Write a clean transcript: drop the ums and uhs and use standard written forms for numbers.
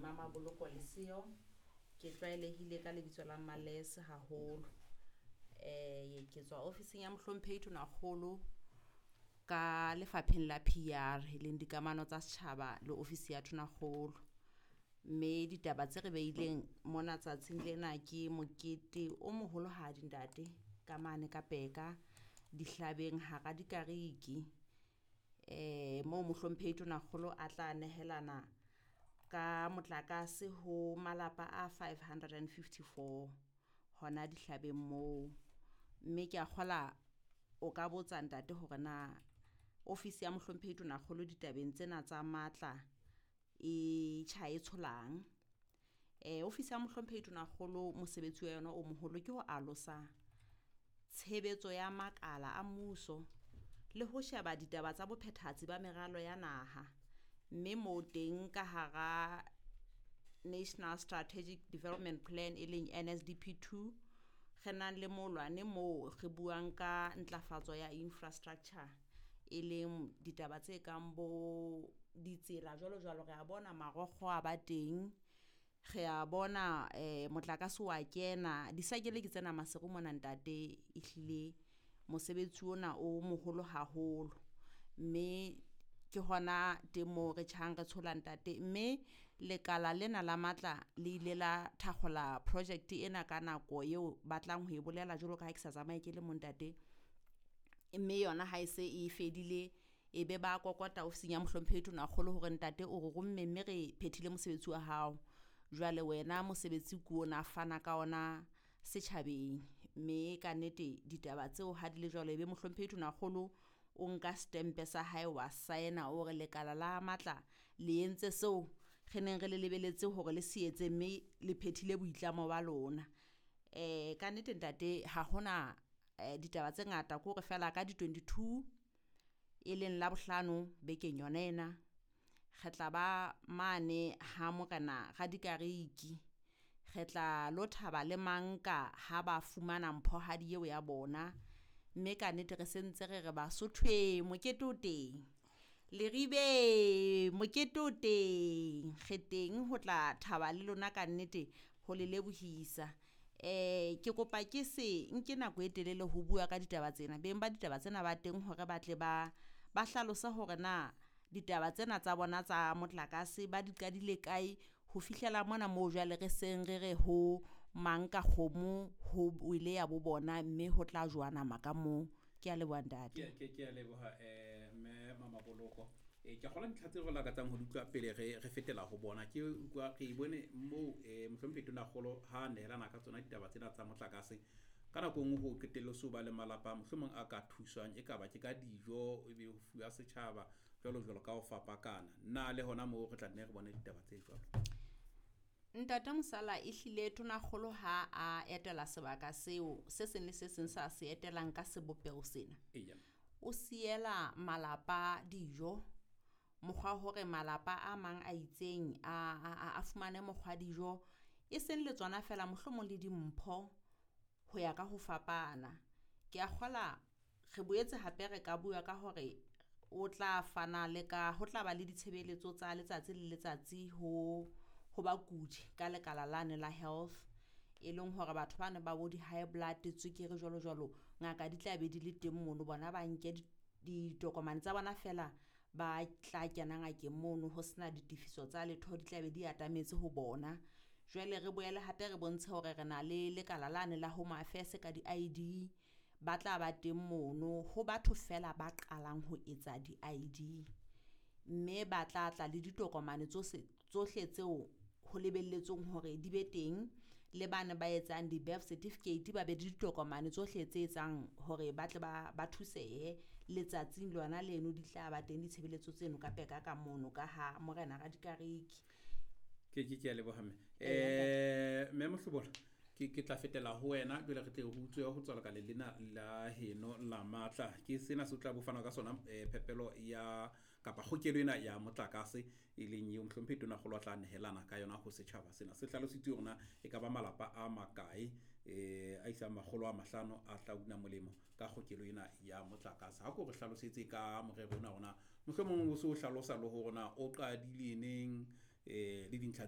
Mamaboloko Leseo. Ke tlwaelehile ka lebitso la Males haholo. Ke tswa ofising ya Mohlomphehi Tonakgolo ka lefapheng la PR e leng dikamano tsa setjhaba le ofisi ya Tonakgolo. Mme ditaba tse re beileng mona tsatsing lena ke mokete o moholohadi ntate ka mane ka Peka dihlabeng hara dikariki. Moo Mohlomphehi Tonakgolo a tla nehelana ka motlakase ho malapa a 554 hona dihlabeng moo. Mme ke a kgola o ka botsa ntate hore na ofisi ya Mohlomphehi Tonakgolo ditabeng tsena tsa matla e tjha e tsholang. Ofisi ya Mohlomphehi Tonakgolo mosebetsi wa yona o moholo ke ho alosa tshebetso ya makala a mmuso le ho sheba ditaba tsa bophethahatsi ba meralo ya naha. Mme moo teng ka hara National Strategic Development Plan e leng NSDP 2 re nang le molwane moo re buang ka ntlafatso ya infrastructure e leng ditaba tse kang bo ditsela jwalo jwalo. Re a bona marokgo a ba teng, re a bona motlakase wa kena disakele ke tsena Maseru mona ntate. Ehlile mosebetsi ona o moholo haholo, mme ke hona teng moo re tjhang re tshola ntate. Mme lekala lena la matla le ile la thakgola project ena ka nako eo batlang ho e bolela jwalo ka ha ke sa tsamaye ke le mo ntate. Mme yona ha e se e fedile e be ba kokota ofising ya Mohlomphehi Tonakgolo hore ntate o re romme mme re phethile mosebetsi wa hao. Jwale wena mosebetsi ke ona fana ka ona setjhabeng. Mme ka nnete ditaba tseo ha di le jwalo ebe Mohlomphehi Tonakgolo o nka stempe sa hae wa saena o re lekala la matla le entse seo re neng re le lebeletse hore le se etse mme le phethile boitlamo ba lona. Ka nnete ntate ha hona ditaba tse ngata ke hore feela ka di 22 e leng Labohlano bekeng yona ena re tla ba mane ha Morena Radikariki. Re tla lo thaba le manka ha ba fumana mphohadi eo ya bona. Mme ka nnete re sentse re re Basotho mokete o teng, Leribe mokete o teng, re teng ho tla thaba le lona ka nnete ho le lebohisa. Ke kopa ke se nke nako e telele ho bua ka ditaba tsena. Beng ba ditaba tsena ba teng hore ba tle ba hlalose hore na ditaba tsena tsa bona tsa motlakase ba di qadile kae ho fihlela mona moo jwale re seng re re ho mang ka kgomo ho wele ya bo bona mme ho tla jowa nama ka moo. Ke a leboha ntate. Ke a leboha mme Mamaboloko. Ke kgola dintlha tseo re lakatsang ho di utlwa pele re fetela ho bona. Ke utlwa re bone moo Mohlomphehi Tonakgolo ha nehelana ka tsona ditaba tsena tsa motlakase. Ka nako e nngwe ho qetelle so ba le malapa mohlomong a ka thuswang e ka ba ke ka dijo ebe ho fuwa setjhaba jwalo jwalo ka ho fapakana. Na le hona moo re tla nne re bone ditaba tse jwalo? Ntate Mosala ehlile Tonakgolo ha a etela sebaka seo se seng le se seng sa se etelang ka sebopeho sena. Eya. O siela malapa dijo mokgwa hore malapa a mang a itseng a fumane mokgwa dijo e seng le tsona fela mohlomong le dimpho ho ya ka ho fapana. Ke a kgola re boetse hape re ka bua ka hore o tla fana le ka ho tla ba le ditshebeletso tsa letsatsi le letsatsi ho bakudi ka lekala lane la health e leng hore batho ba ne ba bo di-high blood tswekere jwalo jwalo ngaka di tla be di le teng mono bona ba nke ditokomane tsa bona fela ba tla kena ngakeng mono ho sena ditefiso tsa letho di tla be di atametse ho bona. Jwale re boele hape re bontshe hore re na le lekala lane la Home Affairs ka di-ID ba tla ba teng mono ho batho fela ba qalang ho etsa di-ID mme ba tla tla le ditokomane tsohle tseo ho lebelletsweng hore di be teng le bana ba etsang di-birth certificate ba be le ditokomane tsohle tse etsang hore ba tle ba thusehe letsatsing lona leno di tla ba teng ditshebeletso tseno ka Peka ka mono ka ha Morena Radikariki. Ke a leboha mme. Mme Mohlobola ke tla fetela ho wena jwale re tle re utlwe ho tswa lekaleng lena la heno la matla. Ke sena se tla bo fana ka sona phepelo ya kapa kgokelo ena ya motlakase e leng eo Mohlomphehi Tonakgolo a tla nehelana ka yona ho setjhaba sena. Se hlalositswe hore na e ka ba malapa a makae a isang 500 a tla una molemo ka kgokelo ena ya motlakase. Ha ko re hlalosetse ka morero ona hore na mohlomong o so hlalosa le hore na o qadile neng le dintlha tse